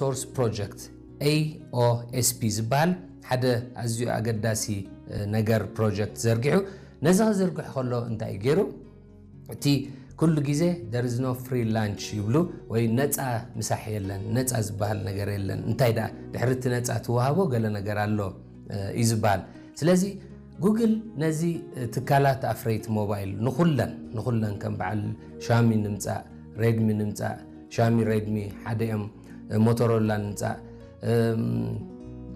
Source Project, A O S P ዝበሃል ሓደ ኣዝዩ ኣገዳሲ ነገር ፕሮጀክት ዘርጊሑ። ነዚ ክዝርግሕ ከሎ እንታይ ገይሩ? እቲ ኩሉ ግዜ there is no free lunch ይብሉ፣ ወይ ነፃ ምሳሕ የለን፣ ነፃ ዝበሃል ነገር የለን። እንታይ ደኣ ድሕሪ እቲ ነፃ ትወሃቦ ገለ ነገር ኣሎ እዩ ዝበሃል። ስለዚ ጉግል ነዚ ትካላት ኣፍረይቲ ሞባይል ንኹለን ንኹለን ከም በዓል ሻሚ ንምፃእ፣ ሬድሚ ንምፃእ፣ ሻሚ ሬድሚ ሓደ እዮም፣ ሞቶሮላ ንምፃእ፣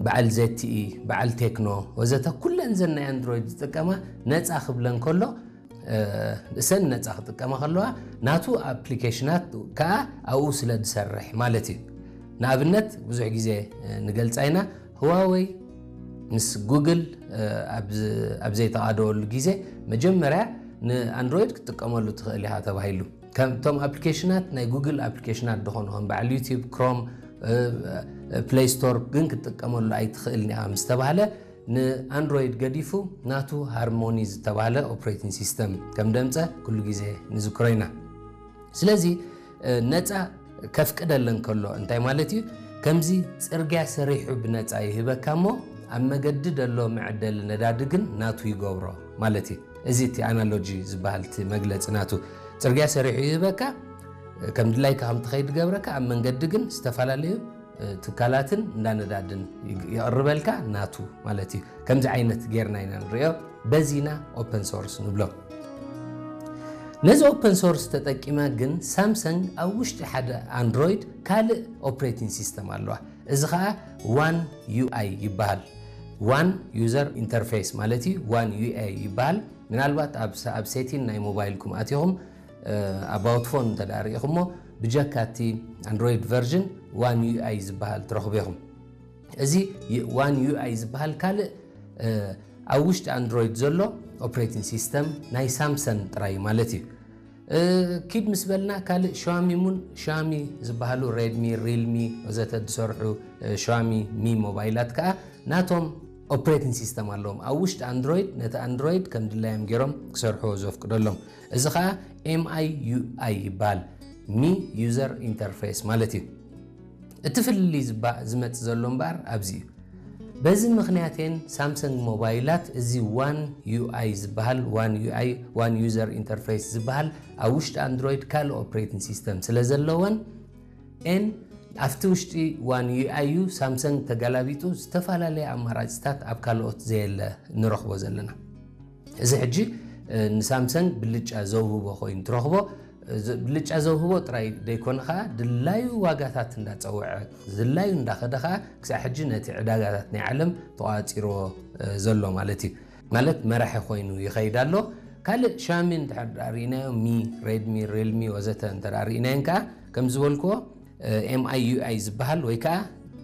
በዓል ዘቲ፣ በዓል ቴክኖ ወዘተ፣ ኩለን ዘን ናይ ኣንድሮይድ ዝጥቀማ ነፃ ክብለን ከሎ፣ እሰን ነፃ ክጥቀማ ከለዋ ናቱ ኣፕሊኬሽናት ከዓ ኣብኡ ስለ ዝሰርሕ ማለት እዩ። ንኣብነት ብዙሕ ግዜ ንገልፃ ኢና፣ ህዋወይ ምስ ጉግል ኣብ ዘይተቓደወሉ ግዜ መጀመርያ ንኣንድሮይድ ክትጥቀመሉ ትኽእል ኢኻ ተባሂሉ። ከምቶም ኣፕሊኬሽናት ናይ ጉግል ኣፕሊኬሽናት ዝኾኑ ከም በዓል ዩቲብ፣ ክሮም፣ ፕሌይ ስቶር ግን ክትጥቀመሉ ኣይትኽእልን ኢኻ ምስ ተባህለ፣ ንኣንድሮይድ ገዲፉ ናቱ ሃርሞኒ ዝተባህለ ኦፕሬቲንግ ሲስተም ከም ደምፀ ኩሉ ግዜ ንዝክሮ ኢና። ስለዚ ነፃ ከፍቅደለን ከሎ እንታይ ማለት እዩ? ከምዚ ፅርግያ ሰሪሑ ብነፃ ይህበካ እሞ ኣብ መገዲ ደሎ መዐደሊ ነዳዲ ግን ናቱ ይገብሮ ማለት እዩ። እዚ እቲ ኣናሎጂ ዝበሃል እቲ መግለፂ ናቱ። ፅርግያ ሰሪሑ ይህበካ፣ ከም ድላይካ ከም ትኸይድ ገብረካ፣ ኣብ መንገዲ ግን ዝተፈላለዩ ትካላትን እንዳ ነዳድን ይቕርበልካ ናቱ ማለት እዩ። ከምዚ ዓይነት ጌርና ኢና ንሪኦ። በዚና ኦፐን ሶርስ ንብሎ። ነዚ ኦፐን ሶርስ ተጠቂመ ግን ሳምሰንግ ኣብ ውሽጢ ሓደ ኣንድሮይድ ካልእ ኦፕሬቲንግ ሲስተም ኣለዋ። እዚ ከዓ ዋን ዩ ኣይ ይበሃል። ዋን ዩዘር ኢንተርፌስ ማለት እዩ። ዋን ዩ ኣይ ይበሃል። ምናልባት ኣብ ሴቲን ናይ ሞባይልኩም ኣቲኹም ኣባውት ፎን እንተ ደኣ ርኢኹሞ ብጀካ እቲ ኣንድሮይድ ቨርዥን ዋን ዩ ኣይ ዝበሃል ትረኽቡ ኢኹም። እዚ ዋን ዩ ኣይ ዝበሃል ካልእ ኣብ ውሽጢ ኣንድሮይድ ዘሎ ኦፕሬቲንግ ሲስተም ናይ ሳምሰን ጥራይ ማለት እዩ። ኪድ ምስ በልና ካልእ ሻሚ ሙን ሻሚ ዝበሃሉ ሬድሚ፣ ሪልሚ ወዘተ ዝሰርሑ ሻሚ ሚ ሞባይላት ከዓ ናቶም ኦፕሬቲንግ ሲስተም ኣለዎም። ኣብ ውሽጢ ኣንድሮይድ ነቲ ኣንድሮይድ ከም ድላዮም ገይሮም ክሰርሕዎ ዘፍቅደሎም። እዚ ከዓ ኤም ኣይ ዩ ኣይ ይበሃል። ሚ ዩዘር ኢንተርፌስ ማለት እዩ። እቲ ፍልልይ ዝመፅ ዘሎ እምበኣር ኣብዚ እዩ። በዚ ምኽንያት እየን ሳምሰንግ ሞባይላት እዚ ዋን ዩ ኣይ ዝበሃል፣ ዋን ዩ ኣይ፣ ዋን ዩዘር ኢንተርፌስ ዝበሃል ኣብ ውሽጢ ኣንድሮይድ ካልእ ኦፕሬቲንግ ሲስተም ስለ ዘለወን ኤን ኣብቲ ውሽጢ ዋን ዩ ኣይ ዩ ሳምሰንግ ተገላቢጡ ዝተፈላለየ ኣማራፅታት ኣብ ካልኦት ዘየለ ንረኽቦ ዘለና። እዚ ሕጂ ንሳምሰንግ ብልጫ ዘውህቦ ኮይኑ ትረኽቦ። ብልጫ ዘውህቦ ጥራይ ደይኮነ ከዓ ድላዩ ዋጋታት እንዳፀወዐ ድላዩ እንዳኸደ ከዓ ክሳዕ ሕጂ ነቲ ዕዳጋታት ናይ ዓለም ተቋፂርዎ ዘሎ ማለት እዩ። ማለት መራሒ ኮይኑ ይኸይድ ኣሎ። ካልእ ሻሚ እንድሕር ደኣ ርኢናዮ፣ ሚ፣ ሬድሚ፣ ሪልሚ ወዘተ እንተ ደኣ ርኢናዮን ከዓ ከም ዝበልክዎ ኤም ኣይ ዩ ኣይ ዝበሃል ወይ ከዓ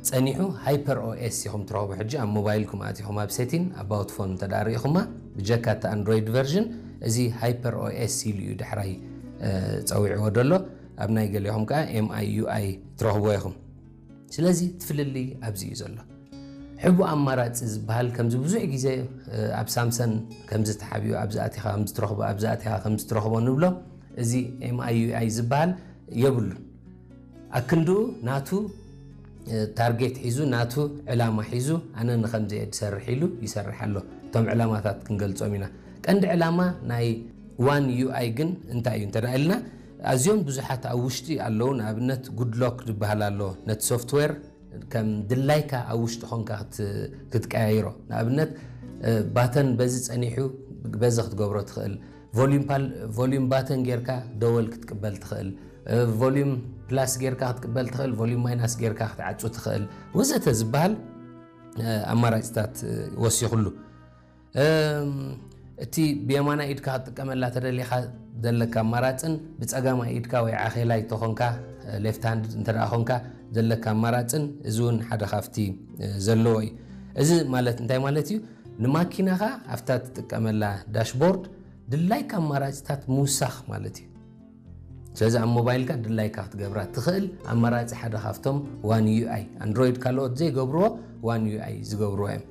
ፀኒሑ ሃይፐር ኦ ኤስ ኢኹም ትረኽቡ። ሕጂ ኣብ ሞባይልኩም ኣቲኹም ኣብ ሴቲን ኣባውት ፎን እንተ ደኣ ርኢኹማ ብጀካ እቲ ኣንድሮይድ ቨርዥን እዚ ሃይፐር ኦ ኤስ ኢሉ እዩ ዳሕራይ ፀዊዕዎ ደሎ። ኣብ ናይ ገሊኹም ከዓ ኤም ኣይ ዩ ኣይ ትረኽብዎ ኢኹም። ስለዚ እቲ ፍልልይ ኣብዚ እዩ ዘሎ። ሕቡእ ኣማራፂ ዝበሃል ከምዚ ብዙሕ ግዜ ኣብ ሳምሰን ከምዚ ተሓቢኡ ኣብዚ ኣቲኻ ከምዚ ትረኽቦ፣ ኣብዚ ኣቲኻ ከምዚ ትረኽቦ ንብሎ። እዚ ኤም ኣይ ዩ ኣይ ዝበሃል የብሉን። ኣክንድኡ ናቱ ታርጌት ሒዙ ናቱ ዕላማ ሒዙ ኣነ ንኸምዚ እየ ዝሰርሕ ኢሉ ይሰርሕ ኣሎ። እቶም ዕላማታት ክንገልጾም ኢና። ቀንዲ ዕላማ ናይ ዋን ዩ ኣይ ግን እንታይ እዩ እንተ ኢልና ኣዝዮም ብዙሓት ኣብ ውሽጢ ኣለዉ። ንኣብነት ጉድሎክ ዝበሃል ኣሎ። ነቲ ሶፍትዌር ከም ድላይካ ኣብ ውሽጢ ኾንካ ክትቀያይሮ። ንኣብነት ባተን በዚ ጸኒሑ በዚ ክትገብሮ ትኽእል። ቮሊዩም ባተን ጌርካ ደወል ክትቅበል ትኽእል። ቮሊዩም ፕላስ ጌርካ ክትቅበል ትኽእል። ቮሊዩም ማይናስ ጌርካ ክትዓጹ ትኽእል። ወዘተ ዝበሃል ኣማራጭታት ወሲኹሉ። እቲ ብየማናይ ኢድካ ክትጥቀመላ ተደሊኻ ዘለካ ኣማራፅን ብፀጋማይ ኢድካ ወይ ዓኼላይ ተኾንካ ሌፍት ሃንድ እንተ ደኣ ኾንካ ዘለካ ኣማራፅን እዚ እውን ሓደ ካብቲ ዘለዎ እዩ። እዚ ማለት እንታይ ማለት እዩ? ንማኪናኻ ኣብታ ትጥቀመላ ዳሽቦርድ ድላይካ ኣማራፅታት ምውሳኽ ማለት እዩ። ስለዚ ኣብ ሞባይልካ ድላይካ ክትገብራ ትኽእል ኣማራፂ ሓደ ካብቶም ዋን ዩ ኣይ ኣንድሮይድ ካልኦት ዘይገብርዎ ዋን ዩ ኣይ ዝገብርዎ እዮም።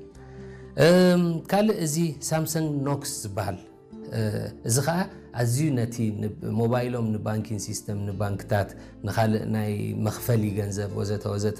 ካልእ እዚ ሳምሰንግ ኖክስ ዝበሃል እዚ ከዓ ኣዝዩ ነቲ ሞባይሎም ንባንኪን ሲስተም ንባንክታት ንካልእ ናይ መኽፈሊ ገንዘብ ወዘተ ወዘተ